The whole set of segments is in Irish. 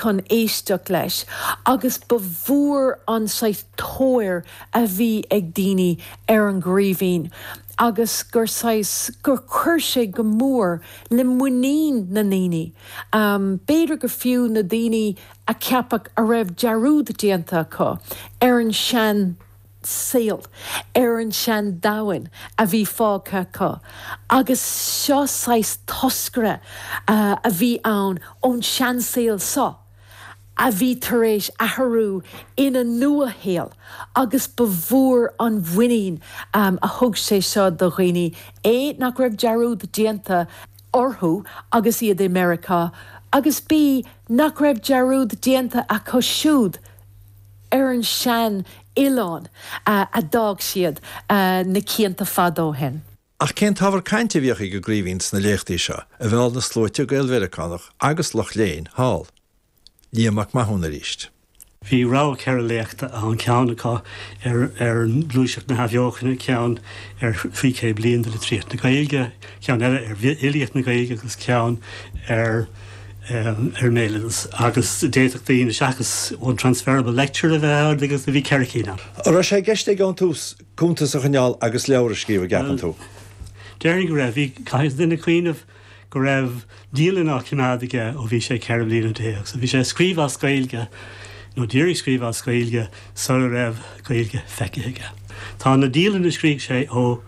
chun éisteacht leis agus ba mhór an saghas tóir a bhí ag daoine ar an gCraoibhín agus gur saghas, gur chuir sé go mór le muinín na ndaoine, b'fhéidir go fiú na daoine a ceapadh a raibh dearúd déanta acu ar an sean saol, ar an sean domhan a bhí fágtha acu agus seo saghas toscaire a bhí ann ón seansaol seo a bhí tar éis athrú ina nua-shaol agus ba mhór an mhuinín a thug sé seo do dhaoine, A nach raibh dearúd déanta orthu agus iad i Meiriceá agus B nach raibh dearúd déanta acu siúd ar an sean oileán a d'fhág siad na cianta fada ó shin. Ach cén t-ábhar cainte a bhíodh ag an gCraoibhín sna léachtaí seo a mheall na sluaite Gael-Mheiriceánach agus lucht léinn thall? Liam Mac Mathúna arís. Bhí rogha 4 léachta ann, ceann acu ar ar ghluaiseacht na hAthbheochana, ceann ar 300 bliain de litríocht na Gaeilge, ceann eile ar fhilíocht na Gaeilge agus ceann ar ar an mbéaloideas. Agus d'fhéadfadh daoine, seachas one transferable lecture a bheith ann, agus bhí 4 cinn ann. An raibh sé i gceist aige ón tús cuntas a choinneáil agus leabhar a scríobh, an gceapann tú? Déarfainn go raibh. Bhí, caithfidh duine cuimhneamh go raibh dialann á choimeád aige ó bhí sé 14 bliana. So bhí sé ag scríobh as Gaeilge, nó d'iarraidh scríobh as Gaeilge sula raibh Gaeilge feicthe aige. Tá na dialanna a scrígh sé ó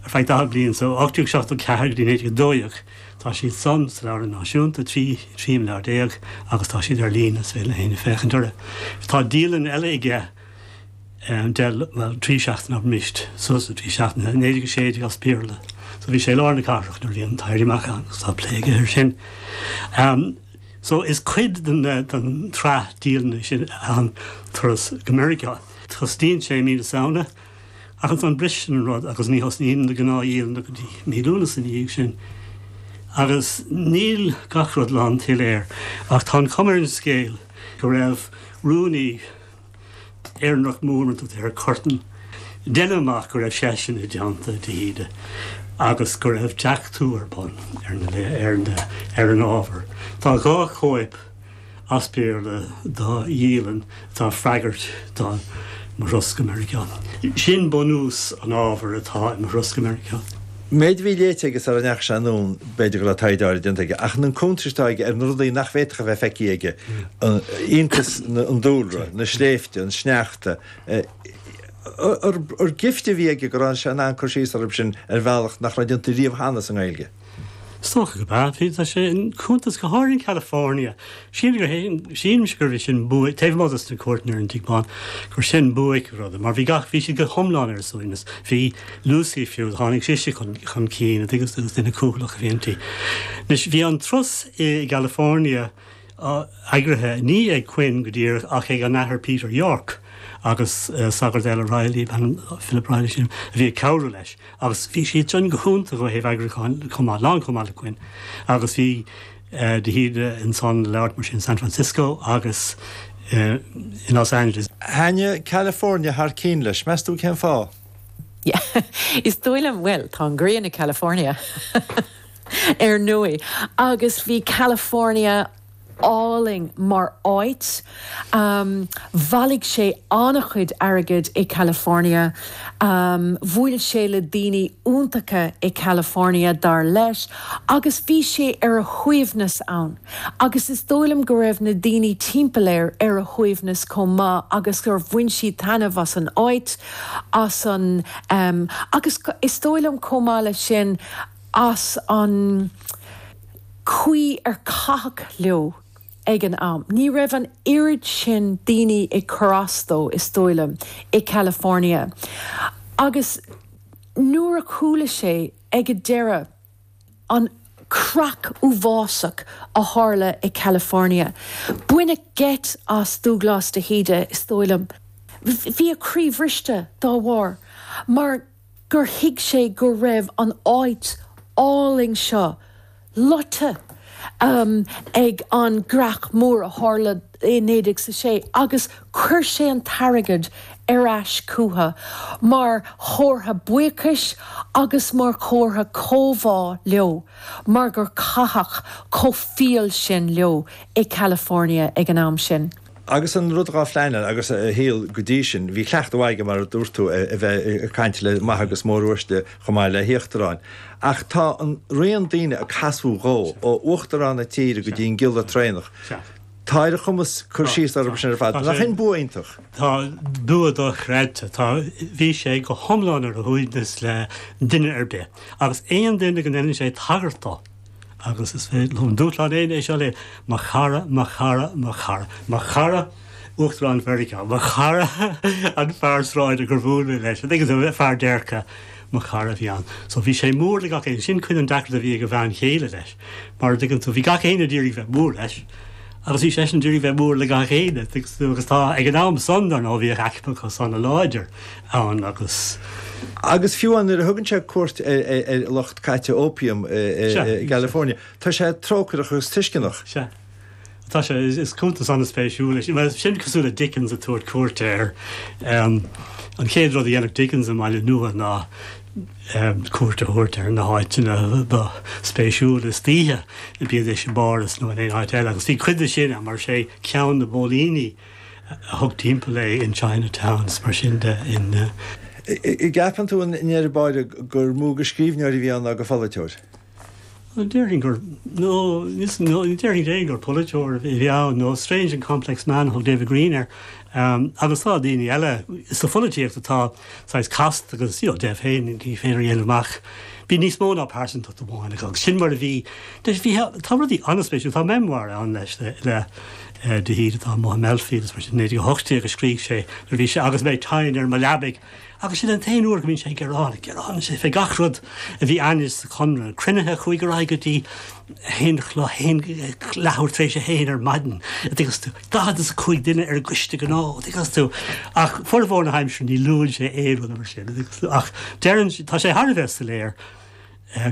ar feadh 40 bliain, so 1874 go dtí 1912, tá siad san sa Leabharlann Náisiúnta, 13 imleabhar agus tá siad ar líne, is féidir le héinne féachaint orthu. Tá dialann eile aige deich, bhuel, 3 seachtaine abraimis, suas le 3 seachtaine, 1916 as Béarla. So bhí sé i lár na cathrach nuair a bhí an t-éirí amach ann agus tá plé aige air sin. So is cuid den den tsraith dialanna sin an turas go Meiriceá. Tosnaíonn sé i mí na Samhna ach ansan briseann an rud agus ní thosnaíonn na gnáthdhialanna go dtí mí Lúnasa ina dhiaidh sin. Agus níl gach rud lánshoiléir ach tá an chuma ar an scéal go raibh rúnaí Éireannach mór mar a tugtar air, Curtin. Deineadh amach go raibh seisean i dteannta de hÍde agus go raibh deachtú ar bun ar na ar na ar an ábhar. Tá 2 chóip as Béarla dá dhialann atá ag freagairt do Mo Thuras go Meiriceá. Sin bunús an ábhair atá i Mo Thuras go Meiriceá. Méid a bhí léite aige sara ndeachaigh sé anonn, b'fhéidir go raibh taighde áirid déanta aige, ach na cuntais atá aige ar na rudaí nach bhféadfadh a bheith feicthe aige, iontas an dúlra, na sléibhte, an sneachta, ar gift a bhí aige go raibh sé in ann cur síos orthu sin ar bhealach nach raibh déanta riamh cheana sa nGaeilge. Is dócha gurb ea. Bhí, tá sé in cuntas go háirithe in California. Sílim gur, sílimse gurbh é sin buaic, taobh amuigh dos na cuairteanna ar an Tigh Bán, gur sin buaic an ruda, mar bhí gach, bhí siad go hiomlán ar a suaimhneas. Bhí Lucy fiú, tháinig sise chun, chun cinn, agus duine cúthaileach a bhí inti. Anois, bhí an turas i gCalifornia eagraithe ní ag Quinn go díreach ach ag an Athair Peter Yorke agus sagart eile Reilly, Philip Reilly sin, a bhí ag cabhrú leis. Agus bhí siad sin go hiontach ó thaobh eagrúcháin chomh maith, lán chomh maith le Quinn. Agus bhí de hÍde ansan ag labhairt mar sin San Francisco agus i Los Angeles. Thaitnigh California thar cinn leis, meas tú cén fáth? Yeah, is dóigh liom, bhuel, tá an ghrian i California ar ndóigh, agus bhí California álainn mar áit. Bhailigh sé an-chuid airgid i California. Bhuail sé le daoine iontacha i California, dar leis, agus bhí sé ar a shuaimhneas ann. Agus is dóigh liom go raibh na daoine timpeall air ar a shuaimhneas chomh maith agus gur bhain siad taitneamh as an áit, as an, agus is dóigh liom chomh maith leis sin, as an chaoi ar caitheadh leo ag an am. Ní raibh an oiread sin daoine ag cur as dó, is dóigh liom, i California. Agus nuair a chuala sé ag an deireadh an creach uafásach a tharla i California, baineadh geit as Dúghlás de hÍde, is dóigh liom. Bhí a chroí bhriste dá bharr, mar gur thuig sé go raibh an áit álainn seo loite. ag an gcreach mór a tharla i 1906 agus chuir sé an t-airgead ar ais chucu mar chomhartha buíochais agus mar chomhartha comhbhá leo mar gur caitheadh chomh fial sin leo i California ag an am sin. Agus an rud dhá phleanáil agus a shaol go dtí sin, bhí cleachtadh mhaith aige, mar a dúirt tú, a bheith ag caint le maithe agus móruaisle chomh maith le híochtaráin. Ach tá an raon daoine a casadh dhó, ó uachtarán na tíre go dtí an giolla traenach, tá ar a chumas cur síos orthu sin ar fad. Nach in bua iontach? Tá bua dochreidte. Tá, bhí sé go hiomlán ar a shuaimhneas le duine ar bith. Agus aon duine go ndeineann sé tagairt dó, Agus is féidir liom dúshlán éinne é seo le mo chara, mo chara, mo chara, mo chara Uachtarán Mheiriceá, mo chara an fear sráide gur bhuail mé leis, an dtuigeann tú, fear déirce, mo chara a bhí ann. So bhí sé mór le gach éinne, sin cuid den deacracht a bhí ag a bhean chéile leis, mar an dtuigeann tú, bhí gach éinne d'iarraidh bheith mór leis agus bhí seisean d'iarraidh bheith mór le gach éinne, agus tá, ag an am san, dar ndóigh, bhíodh aicmeachas ana-láidir ann agus. Agus fiú amháin nuair a thugann sé cuairt ar lucht caite opium i gCalifornia, tá sé trócaireach agus tuisceanach. Sea. Tá sé, is cuntas an-spéisiúil é sin. Bhuel, sin cosúil le Dickens ag tabhairt cuairte ar, an chéad rud a dhéanfadh Dickens i mBaile Nua ná cuairt a thabhairt ar na háiteanna ba spéisiúla istoíche, bíodís i bPáras nó in aon áit eile. Agus bhí cuid de sin ann, mar is é ceann na bpóilíní a thug timpeall é in Chinatown is mar sin de in. An gceapann tú i ndeireadh báire gur mó de scríbhneoir a bhí ann ná de pholaiteoir? Déarfainn gur, nó níos, nó déarfainn féin gur polaiteoir a bhí ann, nó strange and complex man a thug David Greene air. Agus tá daoine eile sa pholaitíocht atá saghas casta agus, you know, Dev féin, ní féidir a dhéanamh amach. Bhí níos mó ná pearsantacht amháin acu agus sin mar a bhí. Bhí, tá rudaí an-spéisiúil, tá memoir ann leis le de hÍde atá amuigh i mBelfield is mar sin, 1918 a scrígh sé nuair a bhí sé agus mé tinn ar mo leabaidh. Agus sin an t-aon uair go mbíonn sé ag gearán, gearánann sé fé gach rud a bhí ainnis sa Chonradh, cruinnithe a chuaigh ar aghaidh go dtí a haon a chlog, haon, leathuair tar éis a haon ar maidin, a dtuigeas tú, 45 duine ar an gcoiste gnó, a dtuigeas tú. Ach formhór na haimsire ní luann sé aon rud mar sin, a dtuigeas tú. Ach deireann, tá sé thar a bheith soiléir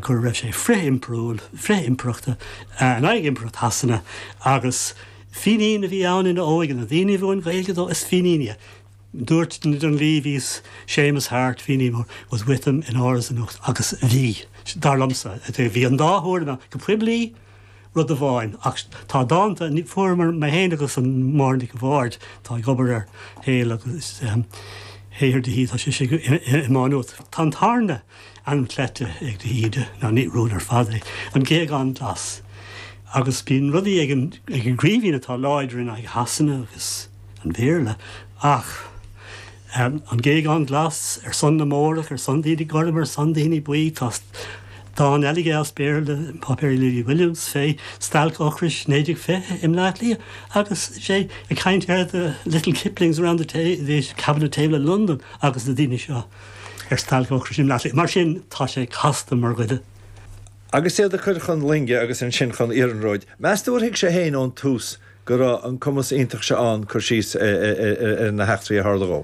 go raibh sé frith-impiriúil, frith-impireachta, in aghaidh impireacht Shasana agus Fínín a bhí ann ina óige, na daoine a mhúin Gaeilge dó, is Fínín iad. Dúirt Dunleavy Séamus Harte, Fínín mór, was with him in Áras an Uachtaráin agus bhí, dar liomsa, bhí an dá thuairim ann, go poiblí, rud amháin, ach tá dánta, fuaireamar, mé féin agus an Máire Nic a' Bhaird, atá ag obair ar shaol agus shaothar de hÍde, tá sise i Má Nuad. Tá an tarna ainm cleite ag de hÍde, ná ní rún ar fad é, an Géagán Glas. Agus bíonn rudaí ag an gCraoibhín atá láidir in aghaidh Shasana agus an Bhéarla, ach an Géagán Glas ar son na mBórach, ar son daoine gorm, ar son daoine buí, tá dán eile aige as Béarla, Páipéirí Lily Williams, fé stailc ocrais 1920 i mBleá Cliath, agus sé ag caint ar the little Kiplings around the the cabinet table in London agus na daoine seo ar stailc ocrais i mBleá Cliath. Mar sin, tá sé casta mar dhuine. Agus iad a chur chun loinge agus ansin chun iarnróid. Meas tú ar thuig sé féin ón tús go raibh an cumas iontach seo ann cur síos ar na heachtraí a tharla dhó.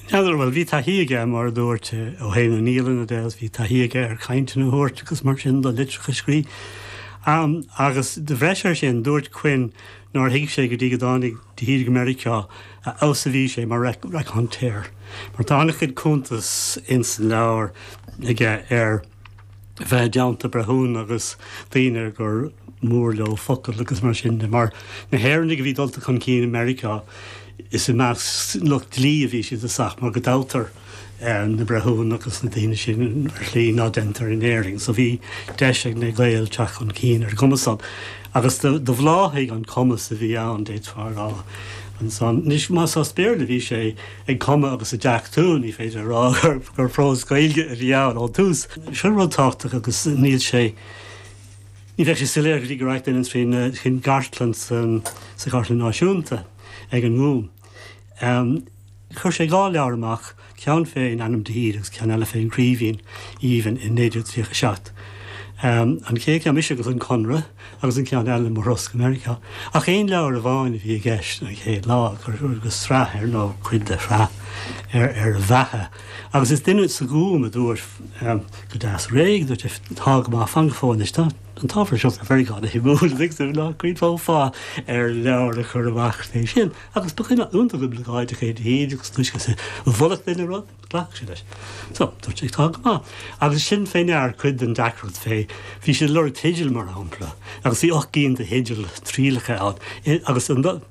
N'fheadar, bhuel, bhí taithí aige, mar a dúirt, ó thaobh na ndialanna de agus bhí taithí aige ar chainteanna a thabhairt agus mar sin de, litreacha a scríobh. Agus de bhreis air sin, dúirt Quinn nár thuig sé go dtí go dtáinig de hÍde go Meiriceá a fheabhas a bhí sé mar raconteur. Mar tá an-chuid cuntas ins an leabhar aige ar. bheith i dteannta breithiúna agus daoine gur mór leo focal agus mar sin de. Mar na hÉireannaigh a bhí dulta chun cinn i Meiriceá, is i measc lucht dlí a bhí siad i dtosach, mar go dtoghtar na breithiúna agus na daoine sin ar shlí ná deintear in Éirinn. So bhí deis ag na Gaeil teacht chun cinn ar an gcuma san. Agus do bhláthaigh an cumas a bhí ann, d'fhéadfá a rá, ansan. Anois, más as Béarla a bhí sé, ag cumadh agus ag deachtú, ní féidir a rá gur prós Gaeilge a bhí ann ón tús. Seo rud tábhachtach agus níl sé, ní bheidh sé soiléir go dtí go rachaidh duine trín gcartlann sa Chartlann Náisiúnta ag an nGúm. Chuir sé 2 leabhar amach, ceann fén ainm de hÍde agus ceann eile fén gCraoibhín Aoibhinn in 1937. An chéad cheann, Mise agus an Conradh, agus an ceann eile, Mo Thuras go Meiriceá. Ach aon leabhar amháin a bhí i gceist an chéad lá, agus sraith ar nó cuid de shraith ar a bheatha. Agus is duine sa Ghúm a dúirt go deas réidh, dúirt sé, tá go maith, fan go fóill anois, tá. an t-ábhar seo fé Mheiriceá an-shuimiúil, agus ná cuimhneofá fáth ar leabhar a chur amach fé sin. Agus ba dhuine iontach oibleagáideach é de hÍde agus túisce is a mholfadh duine rud, ghlacfadh sé leis. So, dúirt sé, tá go maith. Agus sin fé ndear cuid den deacracht fé, bhí siad ag lorg teidil mar shampla, agus bhí 8 gcinn de theidil trialacha ann, agus an.